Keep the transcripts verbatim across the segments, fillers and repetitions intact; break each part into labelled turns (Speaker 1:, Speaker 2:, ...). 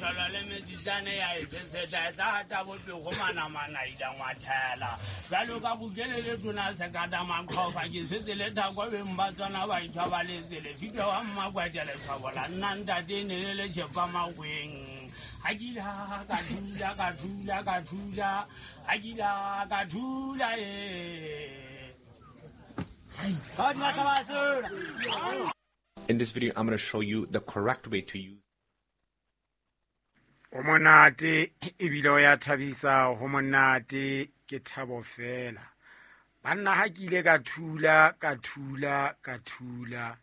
Speaker 1: Metlolo le metsitsane ya e seseta e tla hata bopego manamana ila ngwathela. Bjalo ka bukele le tona sekata maqhofa ke setse le thako beng ba tsona ba ithobaletse lefike wa mmakwete letshwabo la nna ntate ne le le tšhepa makweng. Ha ke ila ka thula ka thula ka thula ha ke ila ka thula e.
Speaker 2: In this video, I'm gonna show you the correct way to use.
Speaker 3: O monate ebile o ya thabisa, ho monate ke thabo fela. Banna ha ke ile ka thula ka thula ka thula,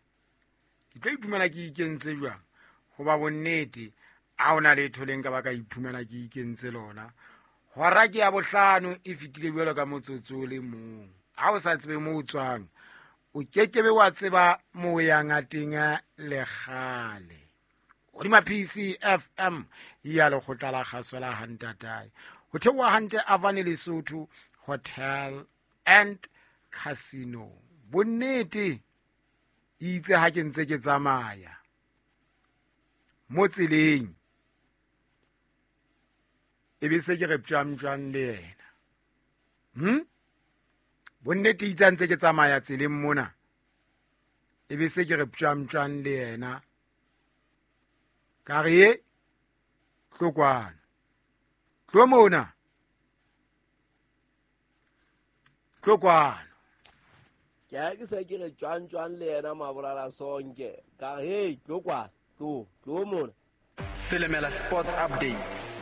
Speaker 3: ke tlo iphumana ke ikentse jwang? Hoba bonnete ha hona letho le nka ba ka iphumana ke ikentse lona. Hora ke ya bohlano e fetile jwalo ka motsotso o le mong. Ha o sa tsebe moo o tswang, o kekebe wa tseba moo o yang a teng le kgale. Hodima P C F M ya lekgotla la kgaso la Hantatae. Ho theoha hantle Avane Lesotho Hotel and Casino. Bonnete itse ha ke ntse ke tsamaya mo tseleng, e be se ke re ptjang-ptjang le yena. Hm? Bonnete itse ha ntse ke tsamaya tseleng mona, e be se ke re ptjang-ptjang le yena. Ka re e tlo kwano, tlo mona, tlo kwano.
Speaker 4: Ke ha ke se ke re tjwang-tjwang le yena Mabolala Sonke. Ka re, hey, tlo kwano, tlo, tlo mona.
Speaker 5: Selemela Sports Updates.